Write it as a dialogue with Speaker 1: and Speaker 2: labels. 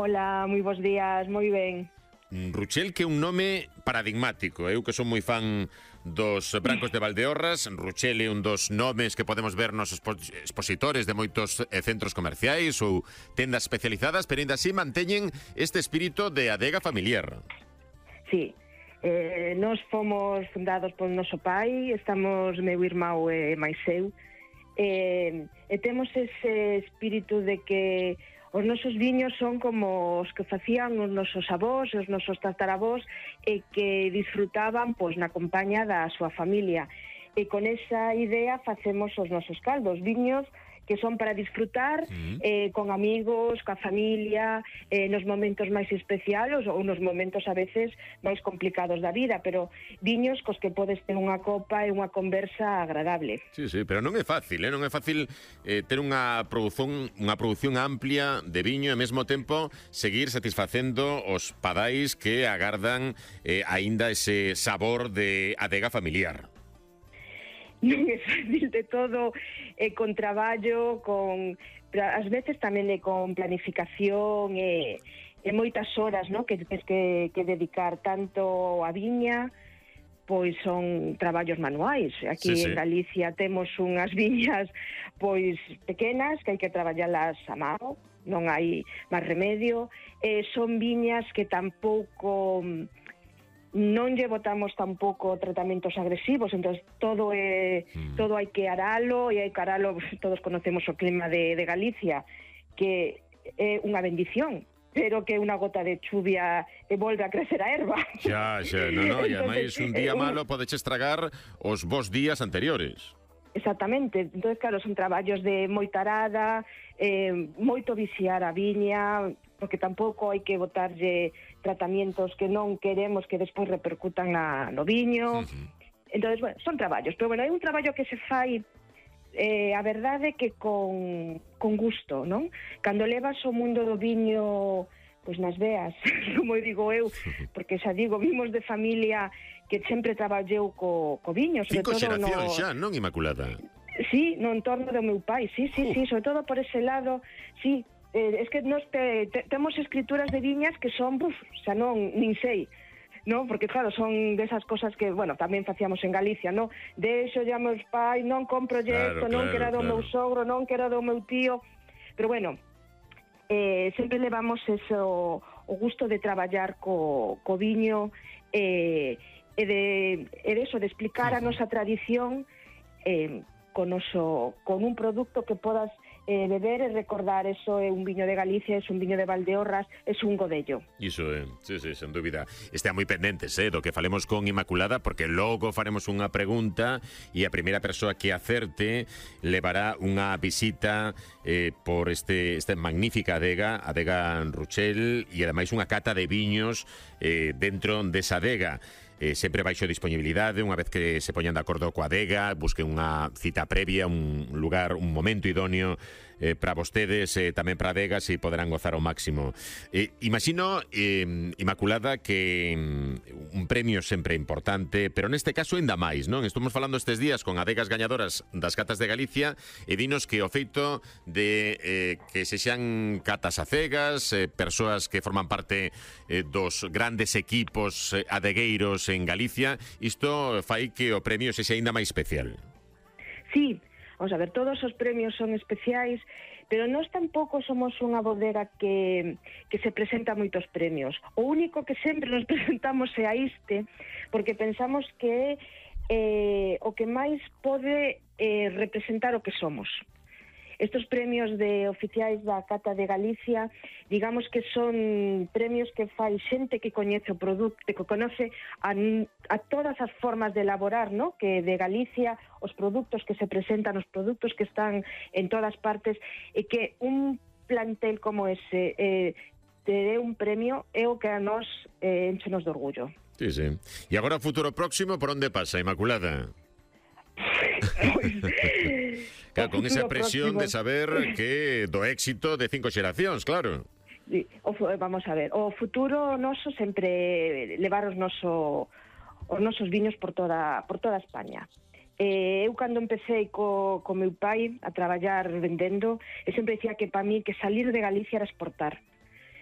Speaker 1: Hola, moi bons días, moi ben.
Speaker 2: Ruchel, que é un nome paradigmático. Eu que son moi fan dos Brancos de Valdeorras. Ruchel é un dos nomes que podemos ver nos expositores de moitos centros comerciais ou tendas especializadas, pero ainda así manteñen este espírito de adega familiar.
Speaker 1: Sí, nós fomos fundados polo noso pai, estamos meu irmão e máis eu, e temos ese espírito de que os nosos viños son como os que facían os nosos avós, os nosos tataravós, e que disfrutaban pois na compañía da súa familia. E con esa idea facemos os nosos caldos, viños que son para disfrutar con amigos, coa familia, nos momentos máis especiales ou nos momentos a veces máis complicados da vida, pero viños cos que podes ter unha copa e unha conversa agradable.
Speaker 2: Sí, pero non é fácil, non é fácil ter unha produción amplia de viño e ao mesmo tempo seguir satisfacendo os padais que agardan aínda ese sabor de adega familiar.
Speaker 1: Non é fácil de todo, con traballo, ás veces tamén con planificación e moitas horas, ¿no?, que tens que dedicar tanto a viña, pois son traballos manuais. Aquí en Galicia temos unhas viñas pois pequenas que hai que traballalas a mano, non hai máis remedio, son viñas que tampouco non lle botamos tampouco tratamentos agresivos, entón todo hai que aralo, e hai que aralo, todos conocemos o clima de Galicia, que é unha bendición, pero que unha gota de chuvia e volve a crecer a erva.
Speaker 2: Xa, non, e ademais un día malo podeche estragar os bons días anteriores.
Speaker 1: Exactamente, entón claro, son traballos de moita arada, moito viciar a viña, porque tampouco hai que botarlle tratamientos que non queremos que despois repercutan no viño. Entón, bueno, son traballos, pero bueno, hai un traballo que se fai a verdade que con gusto, non? Cando levas o mundo do viño pois nas veas, como digo eu, porque xa digo, vimos de familia que sempre traballeu co viño, sobre
Speaker 2: 5
Speaker 1: todo
Speaker 2: xeracións xa, non, Inmaculada?
Speaker 1: Sí, no entorno do meu pai, sí, sobre todo por ese lado, sí. Es que nós temos escrituras de viñas que son, xa non, nin sei, no? Porque claro, son desas cosas que, bueno, tamén facíamos en Galicia, no? Deixo ya meus pais, non compro isto, non quero do meu sogro, non quero do meu tío, pero bueno, sempre levamos eso, o gusto de traballar co viño e de eso, de explicar a nosa tradición con un producto que podas beber e recordar. Eso é un viño de Galicia, é un viño de Valdeorras, é un godello.
Speaker 2: Iso é, sí, sen dúbida. Estea moi pendentes do que falemos con Inmaculada, porque logo faremos unha pregunta e a primeira persoa que acerte levará unha visita por esta magnífica adega Ruchel, e ademais unha cata de viños dentro desa adega. Sempre baixo disponibilidade, unha vez que se poñan de acordo coa adega, busquen unha cita previa, un lugar, un momento idóneo para vostedes, tamén para adegas, e poderán gozar ao máximo. Imagino, Inmaculada, que un premio sempre é importante, pero neste caso ainda máis, non? Estamos falando estes días con adegas gañadoras das catas de Galicia, e dinos que o feito de que se xan catas a cegas, persoas que forman parte dos grandes equipos adegueiros en Galicia, isto fai que o premio sexa aínda máis especial.
Speaker 1: Sí, vamos a ver, todos os premios son especiais, pero nós tampouco somos unha bodega que se presenta moitos premios. O único que sempre nos presentamos é a este, porque pensamos que é o que máis pode representar o que somos. Estos premios de oficiais da Cata de Galicia, digamos que son premios que fai xente que coñece o produto, que conoce a todas as formas de elaborar, ¿no?, que de Galicia, os produtos que se presentan, os produtos que están en todas partes, e que un plantel como ese te dé un premio é o que a nós enchenos de orgullo.
Speaker 2: Sí. E agora o futuro próximo, por onde pasa, Inmaculada? Claro, con esa presión de saber que do éxito de 5 xeracións, claro.
Speaker 1: Sí, vamos a ver, o futuro noso sempre levar os nosos viños por toda España. Eu cando empecé co meu pai a traballar vendendo, sempre dicía que para mí que salir de Galicia era exportar.